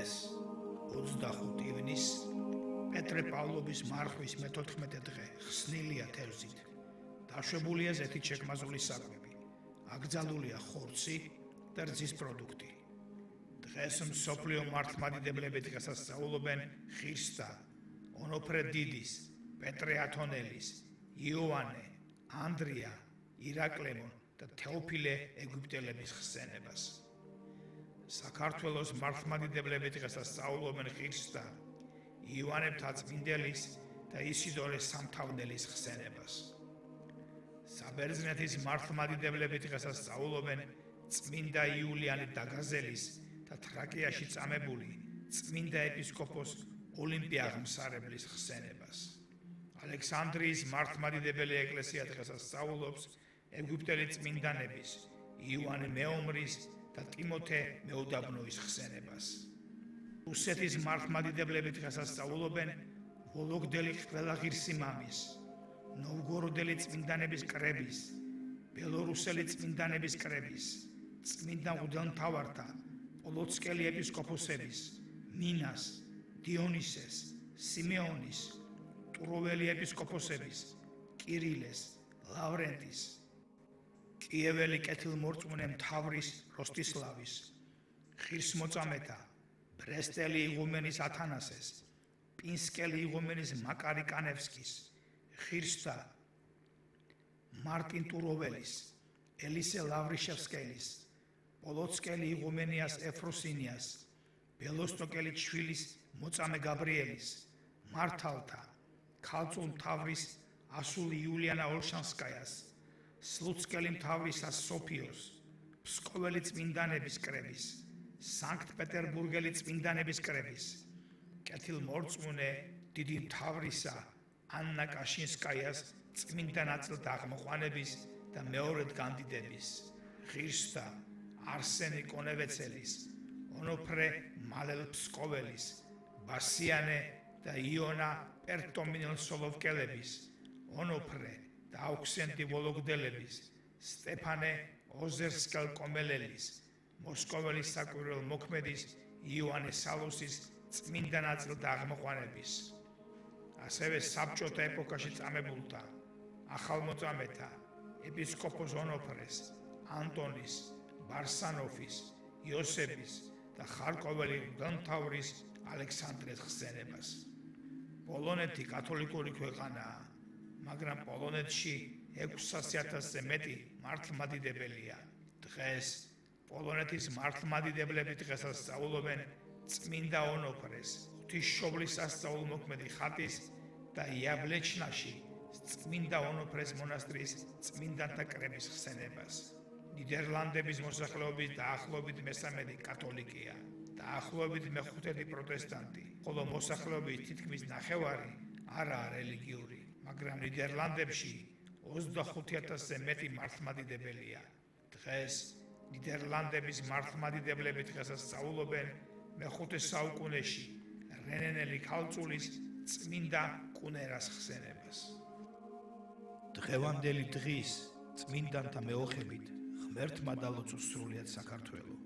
დღეს 25 ივნისს პეტრე პავლოვის მარხვის მე-14 დღე ხსნილია თევზით. დაშვებულია ზეთით შექმაზული საკვები. აკრძალულია ხორცი და რძის პროდუქტი. დღეს მსოფლიო მართლმადიდებლები დღესასწაულობენ ხირსთა, ონოფრე დიდის, პეტრე ათონელის, იოანე, ანდრია, ირაკლემონ და თეოფილე ეგვიპტელების ხსენებას. საქართველოს მართლმადიდებლები დღესასწაულობენ ხირსთა, იოანე მთაწმინდელის და ისიდორე სამთავნელის ხსენებას. საბერძნეთის მართლმადიდებლები დღესასწაულობენ წმინდა იულიანე დაგაზელის და თრაკიაში წამებული წმინდა ეპისკოპოს ოლიმპე აღმსარებლის ხსენებას. ალექსანდრიის მართლმადიდებელი ეკლესია დღესასწაულობს ეგვიპტელი წმინდანების იოანე მეომრის და ტიმოთე მეუდაბნოის ხსენებას. რუსეთის მართლმადიდებლები დღესასწაულობენ ვოლოგდელი ყველა ღირსი მამის, ნოვგოროდელი წმინდანების კრების, ბელორუსელი წმინდანების კრების, წმინდა მღვდელმთავართა, პოლოცკელი ეპისკოპოსების, მინას, დიონისეს, სიმეონის, ტუროველი ეპისკოპოსების, კირილეს, ლავრენტის, კიეველი კეთილმორწმუნე მთავრის როსტისლავის, ღირსმოწამეთა, ბრესტელი იღუმენის ათანასეს, პინსკელი იღუმენის მაკარი კანევსკის, ხირსთა მარტინ ტუროველის, ელისე ლავრიშევსკელის, პოლოცკელი იღუმენიას ეფროსინიას, ბელოსტოკელი ჩვილის მოწამე გაბრიელის, მართალთა, ქალწულ მთავრის ასული იულიანა ოლშანსკაიას, სლუცკელი მთავრისა სოფიოს, ფსკოველი წმინდანების კრების, სანქტ-პეტერბურგელი წმინდანების კრების, კეთილმორწმუნე დიდი მთავრისა ანნა კაშინსკაიას წმინდა ნაწილთა აღმოყვანების და მეორედ განდიდების, ღირსთა არსენი კონევეცელის, ონოფრე მალელფსკოველის, ბასიანე და იონა პერტომინელ-სოლოვკელების, ონოფრე და აუქსენტი ვოლოგდელების, სტეფანე ოზერსკელ-კომელელის, მოსკოველის საკვირველ მოქმედის იოანე სალოსის წმინდა ნაწილთა აღმოყვანების, ასევე საბჭოთა ეპოქაში წამებულთა, ახალმოწამეთა, ეპისკოპოს ონოფრეს, ანტონის, ბარსანოფის, იოსების და ხარკოველი მღვდელმთავრის ალექსანდრეს ხსენებას. პოლონეთი კათოლიკური ქვეყანაა, მაგრამ პოლონეთში 600,000-ზე მეტი მართლმადიდებელია. დღეს პოლონეთის მართლმადიდებლები დღესასწაულობენ წმინდა ონოფრეს, ღვთისმშობლის სასწაულმოქმედი ხატის და იაბლეჩნაში წმინდა ონოფრეს მონასტრის წმინდანთა კრების ხსენებას. ნიდერლანდების მოსახლეობის დაახლოებით მე-13 კათოლიკია, დაახლოებით მე-5 პროტესტანტი, ხოლო მოსახლეობის თითქმის ნახევარი არაა რელიგიური, მაგრამ ნიდერლანდებში 25,000-ზე მეტი მართლმადიდებელია. დღეს ნიდერლანდების მართლმადიდებლები დღესასწაულობენ მე-5 საუკუნეში რენენელი ქალწულის წმინდა კუნერას ხსენებას. დღევანდელი დღის წმინდანთა მეოხებით ღმერთმა დალოცოს სრულიად საქართველო.